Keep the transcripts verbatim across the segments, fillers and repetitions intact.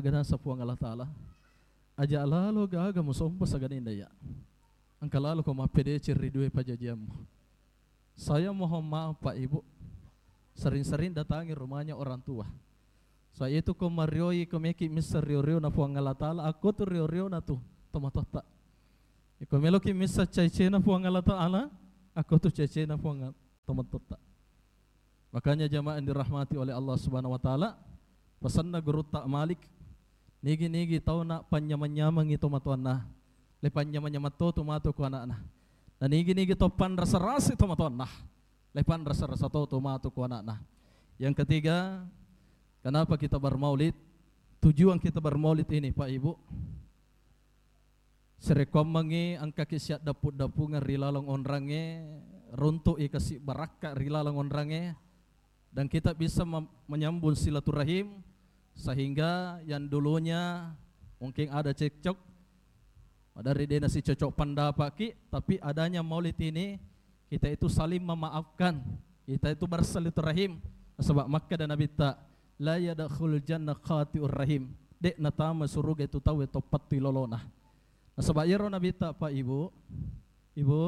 Aga naseng Puang Allah Ta'ala, aja' lalo gaga musompa saganinna iya'. Engka lalo ko mappedeceng ri dua pajajiammu. Saya mohon maaf, Pak, Ibu, sering-sering datangi rumahnya orang tua. Saya itu ko marioi, ko meki misseng rio-riona Puang Allah Ta'ala, akko tu rio-riona tu tomatoatta. Iko meloki misseng caicena Puang Allah Ta'ala, akko tu caicena Puang tomatoatta. Makanya jamaah yang dirahmati oleh Allah Subhanahu wa Ta'ala, pesanna Gurutta Malik, nigi-nigi tauna panyamang-nyamangi tomatoanna, le panyamang-nyamang to tu matu ku anakna. Na nigi-nigi to panrasa-rasa tomatoanna, le panrasa-rasa to tu matu ku anakna. Yang ketiga, kenapa kita bermaulid? Tujuan kita bermaulid ini, Pak Ibu, serekkoammengngi engkaki siaddappu-dappungeng ri laleng onrangnge, runtu'i kasi barakka ri laleng onrangnge, dan kita bisa mem-, menyambung silaturahim, sehingga yang dulunya mungkin ada cekcok, maderri de' nasicocok pendapatki, tapi adanya maulid ini, kita itu saling memaafkan, kita itu bersilaturahim. Nasaba' makkeda Nabitta, "La yadkhulul jannah qati'ur rahim." De' natama suruga itu tauwe to pattui lolona. Nasaba' iyaro Nabitta, Pak, Ibu, Ibu,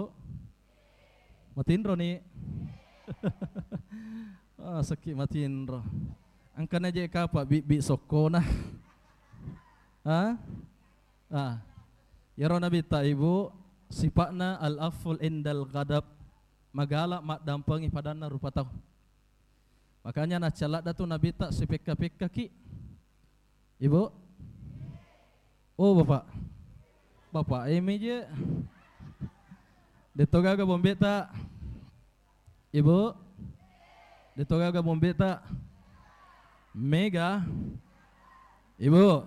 matinro ni? Ah, sakki matinro. Engkana je' kapa bibbi sokkona. Ha? Ah. Iyaro Nabitta, Ibu, sipa'na al-afwul indal ghadab, magala maddampengi padanna rupa tau. Makanya naccaladda tu Nabitta sipekka-pekkaki. Ibu? Oh, Bapak. Bapak, eh, mi je. De'to gaga bombeta. Ibu? De'to gaga bombeta. Mega. Ibu?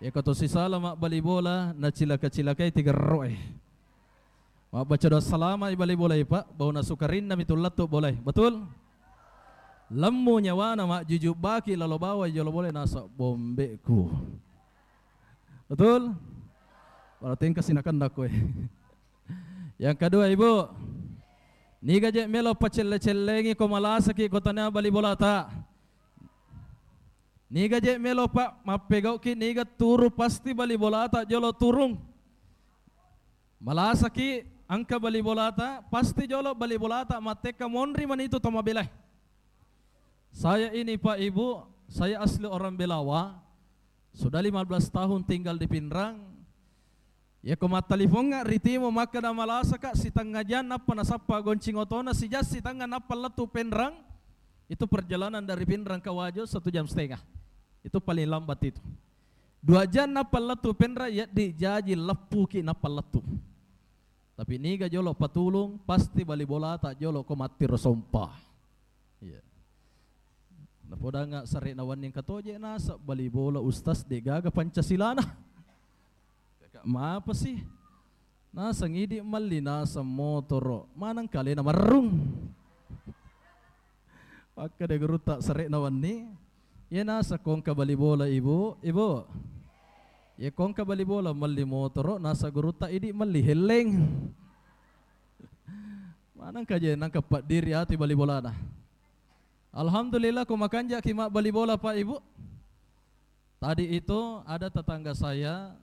Iyako to sisala mabbali bola, nacilaka-cilakai tigerro'e. Mabbaca doa salama i bali bolai, Pak. Bauna sukarinna mi tu lettu bolai. Betul? Lemmu nyawana majjuju baki lalo bawai jolo bolai naseng bombeku. Betul? Berarti engka sinakenna koe. Yang kedua, Ibu, niga je' melo pacelle-cellengi ko malasaki ko tania bali bolata. Niga je' melo, Pak, mappegau'ki niga turu pasti bali bolata jolo turung. Malasaki engka bali bolata, pasti jolo bali bolata mattekka monri manitu to mabelai. Saya ini, Pak, Ibu, saya asli orang Belawa. Sudah lima belas tahun tinggal di Pinrang. Iyako mattalipongnga ri Timo, makkeda malasaka, sitengnga jang nappa nasappa goncing otona, sijang sitengnga nappa lettu Pinrang. Itu perjalanan dari Pinrang ke Wajo satu jam setengah. Itu paling lambat itu. Dua jang nappa lettu Pinrang, yaddi jaji leppuki nappa lettu. Tapi niga jolo patulung, pasti bali bolata jolo ko mattiro sompa. Iya. Napodanga sarena wenning katoje naseng bali bola ustaz de' gaga Pancasilana. Kakak mapa sih? Naseng idi melli naseng motoro, maneng kalena marrung. Makkeda gurutta sarena wenni, iya naseng ko engka bali bola, Ibu, Ibu. Iya ko engka bali bola melli motoro, naseng gurutta idi melli helleng. Maneng kaje nangka paddiri ati bali bolana. Alhamdulillah, ko makanjaki mabbali bola, Pak, Ibu. Tadi itu ada tetangga saya,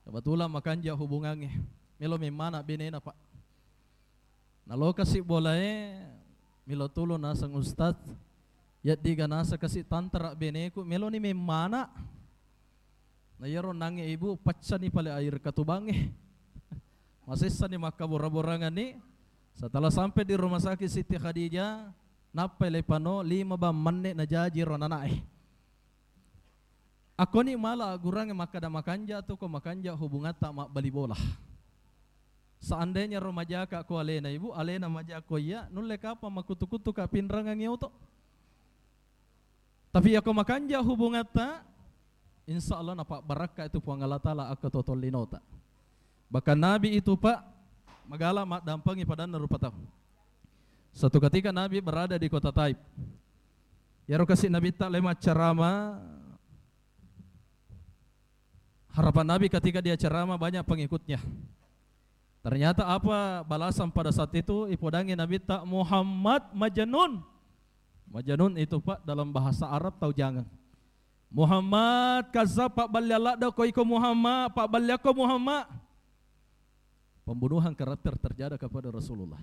kebetulan makanja hubungannya. Melo memmana benena, Pak. Nalokasi bolae, melo tulung naseng ustaz. Yaddiga naseng kasi tantara beneku, meloni memmana. Na iyaro nangnge ibu, paccani pale air katubangnge. Masessani makkabora-boranganni. Setelah sampai di rumah sakit Siti Khadijah, nappai lepano lima bang menne najaji ro nanae. Akkoni mala aggurangnge makkeda makanja tu ko makanja hubungatta mabbali bola. Seandainya ro majaka ko alena ibu, alena majako iya, nulle kapang makkutu-kutu ka pinrangangngi oto. Tapi iyako makanja hubungatta, insya Allah napabbarakka itu Puang Allah Ta'ala akko to tollinota. Bahkan Nabi itu, Pak, magala maddampengi padanna rupa tau. Suatu ketika Nabi berada di kota Taif. Iyaro kasi Nabitta le maccarama, harapan Nabi ketika dia ceramah banyak pengikutnya. Ternyata apa balasan pada saat itu? Ipodangi Nabitta, "Muhammad majnun." Majnun itu, Pak, dalam bahasa Arab tau jangeng. Muhammad, kaza pabballiang ladde ko iko Muhammad, pabballiakko Muhammad. Pembunuhan karakter terjadi kepada Rasulullah.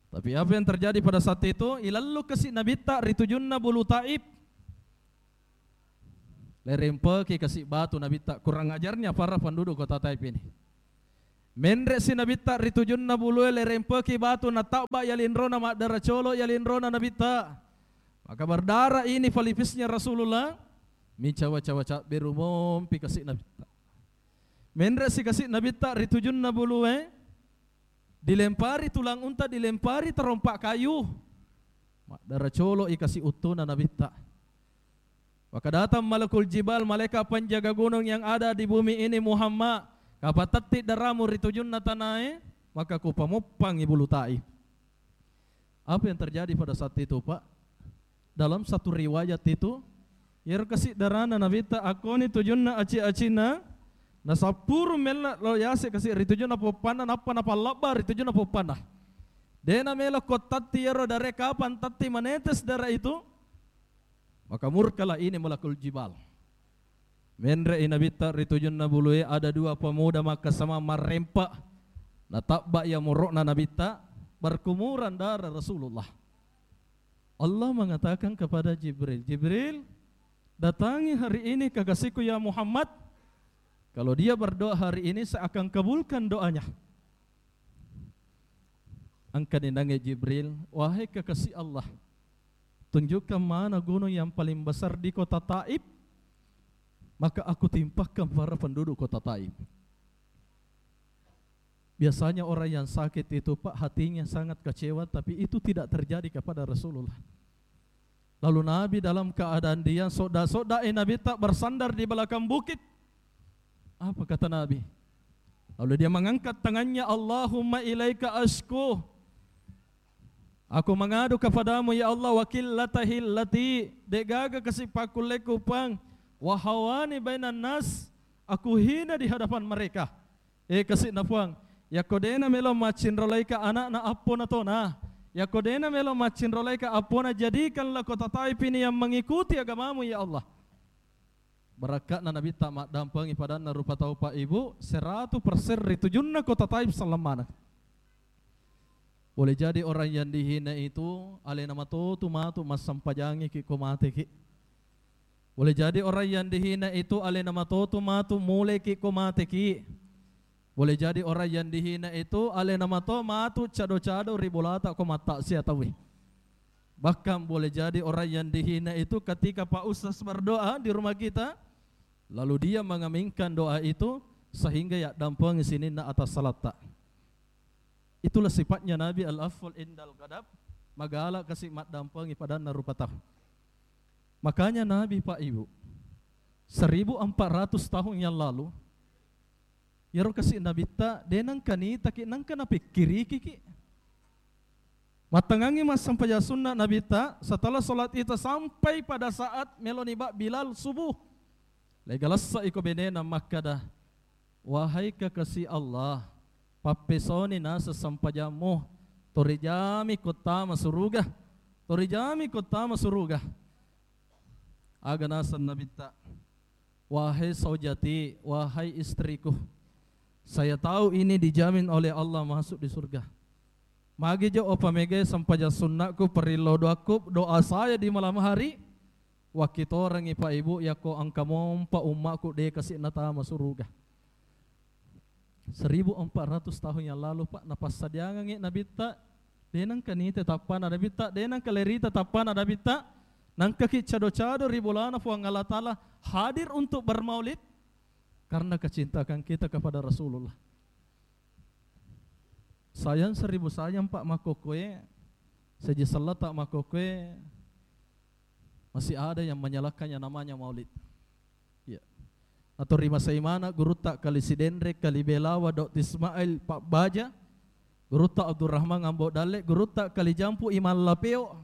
Tapi apa yang terjadi pada saat itu? Ilallu kasi Nabitta ri tujunna bulu Taif. Lerempeki kasi batu Nabitta. Kurang ajarnya para penduduk kota Taif ini. Menre si Nabitta ri tujunna bulue, lerempeki batu, natabba ya linrona, maddara colo ya linrona Nabitta. Maka berdarah ini pelipisnya Rasulullah. Micawa-cawa cabberu mompi kasi Nabitta. Menre si kasi Nabitta ri tujunna bulue, dilempari tulang unta, dilempari terompa kayu. Maddara colo i kasi uttuna Nabitta. Maka datang malakul jibal, malaikat penjaga gunung yang ada di bumi ini, Muhammad, kapatatti daramu ri tujunna tanae, maka kupamoppangi bulu Taif. Apa yang terjadi pada saat itu, Pak? Dalam satu riwayat itu, iyaro kasi darana Nabitta, akkoni tujunna aci-acina, nasappuru mella lo yase kasi ri tujunna poppanna, nappa napallabba ri tujunna poppanna. Dena melo kottatti iyaro dare, kapan tatti menetes darah itu, maka murkalah ini malakul jibal. Menre'i Nabitta ri tujunna bulue, ada dua pemuda makkasama marrempa. Natabba iya moro'na Nabitta, berkumuran darah Rasulullah. Allah mengatakan kepada Jibril, "Jibril, datangi hari ini kekasihku ya Muhammad. Kalau dia berdoa hari ini, saya akan kabulkan doanya." Engkani nangnge Jibril, "Wahai kekasih Allah, tunjukkan mana gunung yang paling besar di kota Taif, maka aku timpakan para penduduk kota Taif." Biasanya orang yang sakit itu, Pak, hatinya sangat kecewa, tapi itu tidak terjadi kepada Rasulullah. Lalu Nabi dalam keadaan diam, sodda-sodda'i Nabitta bersandar di belakang bukit. Apa kata Nabi? Lalu dia mengangkat tangannya, "Allahumma ilaika asku." Aku mengadu kepadamu, ya Allah, wa qillatahil lati, de'gaga kasi pakkulleku pang, wa hawani bainan nas, aku hina di hadapan mereka. Eh, kasi'na Puang, yakko de'na melo maccinrolaika ana'na appona tona, yakko de'na melo maccinrolaika appona, jadikanlah kota Taif ini yang mengikuti agamamu, ya Allah. Barakka'na Nabitta maddampengi padanna rupa tau, Pak, Ibu, seratu persen ri tujunna kota Taif selleng maneng. Boleh jadi orang yang dihina itu alena matotu matu massempajangi ki ko mate ki. Boleh jadi orang yang dihina itu alena matotu matu mulai ki ko mate ki. Boleh jadi orang yang dihina itu alena mato matu cado-cado ri bolata ko mattaksiat tauwe. Bahkan boleh jadi orang yang dihina itu ketika Pak Ustaz berdoa di rumah kita, lalu dia mengaminkan doa itu sehingga yaddampengi sininna atas salatta. Itulah sifatnya Nabi, al-afwul indal ghadab, magala kasi maddampengi padanna rupa tau. Makanya Nabi, Pak, Ibu, seribu empat ratus tahun yang lalu, iyaro kasi Nabitta, de' nengka nitaki, nengka napikkiriki ki. Mattengngangi massempajang sunna Nabitta, setelah sholat Isya sampai pada saat meloni ba Bilal subuh. Legalessa iko benena makkada, "Wahai kekasih Allah, pappesoni naseng sempajammu, torijami kuttama suruga, torijami kuttama suruga." Aga naseng Nabitta, "Wahai saujati, wahai istriku, saya tahu ini dijamin oleh Allah masuk di surga. Magi jo upamega sempajang sunnakku, perillo doakku, doa saya di malam hari, wakkitorengngi, Pak, Ibu, yakko engka mompa ummakku de' kasi natama suruga." Seribu empat ratus tahun yang lalu, Pak, napassadiangengngi Nabitta, de' nengka nite tappana Nabitta, de' nengka lerita tappana Nabitta, nengka ki cado-cado ri bolana Puang Allah Ta'ala hadir untuk bermaulid karena kecintaan kita kepada Rasulullah. Sayang seribu sayang, Pak, makkokkoe, seji sellata makkokkoe, masih ada yang menyalahkan yang namanya maulid. Iya. Atau ri masai mana gurutta Kali Sidenreng, Kali Belawa, Dokter Ismail, Pak Baja, gurutta Abdurrahman Ambo Dalle, gurutta Kali Jampu Imam Lapeo.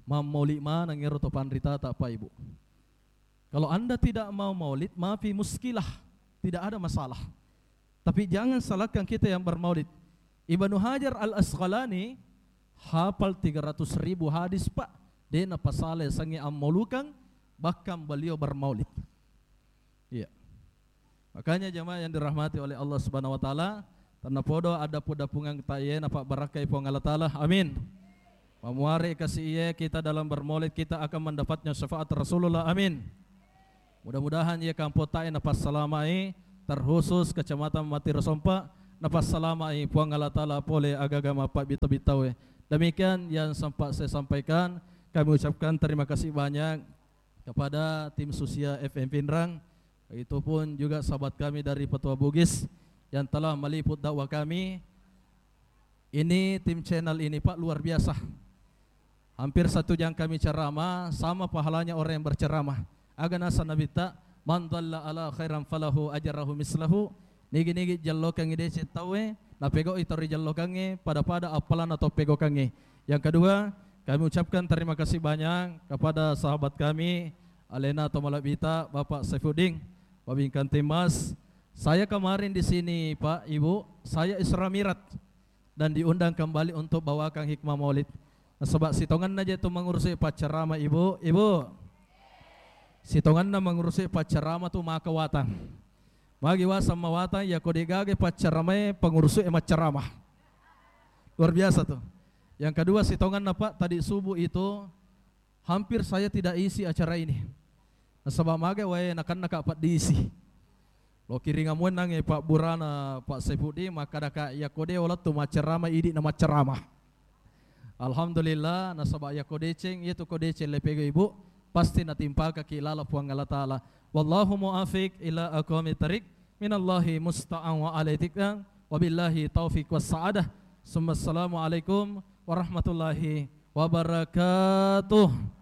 Mammaulid maneng ero to panritata, Pak, Ibu. Kalau Anda tidak mau maulid, mafi muskilah, tidak ada masalah. Tapi jangan salahkan kita yang bermaulid. Ibnu Hajar Al-Asqalani hafal tiga ratus ribu hadis, Pak. De' napasala yasengnge ammaulukeng, bahkan beliau bermaulid. Iya. Makanya jamaah yang dirahmati oleh Allah Subhanahu wa Ta'ala, tennapodo addapu-dapungeng ta iye napabbarakkai Puang Allah Ta'ala. Amin. Mamuare kasi iye kita dalam bermaulid, kita akan mendapatnya syafaat Rasulullah. Amin. Mudah-mudahan iye kampotae napassalamai, terkhusus Kecamatan Matiro Sompa, napassalamai Puang Allah Ta'ala pole agaga mappabbita-bitawe. Demikian yang sempat saya sampaikan. Kami ucapkan terima kasih banyak kepada tim Susia F M Pinrang, itu pun juga sahabat kami dari Petua Bugis yang telah meliput dakwah kami. Ini tim channel ini, Pak, luar biasa. Hampir satu jam kami ceramah, sama pahalanya orang yang berceramah. Aga naseng Nabitta, "Man dalla ala khairan falahu ajrahu mislahu." Nigi-nigi jellokengngi deceng tauwe, napegau'i tau rijellokengnge, pada-pada appalanna tau pegokengnge. Yang kedua, kami ucapkan terima kasih banyak kepada sahabat kami, alena to malebbita, Bapak Saifuddin, Babin Kamtibmas. Saya kemarin di sini, Pak, Ibu, saya Isra Miraj dan diundang kembali untuk bawakan hikmah maulid. Nasaba sitongenna je tu mengurusi paccerama, Ibu, Ibu. Sitongenna mengurusi paccerama tu maka watang. Magi waseng mawatang, yako degaga pacceramae, pengurusi e maccerama. Luar biasa tuh. Yang kedua, sitongenna, Pak, tadi subuh itu hampir saya tidak isi acara ini. Nasaba mage wae nakenna ka paddisi. Lo kiringamuennangnge pabburana Pak Saifuddin, makkadaka, "Yako de olettu maccerama, idi na maccerama." Alhamdulillah, nasaba yako deceng, iyatu ko deceng lepego Ibu, pasti natimpakaki lala Puang Allah Ta'ala. Wallahu muafiq ila aqwamit thariq, minallahi musta'an wa alaihi tiklan, wabillahi taufiq was sa'adah. Summa assalamualaikum warahmatullahi wabarakatuh.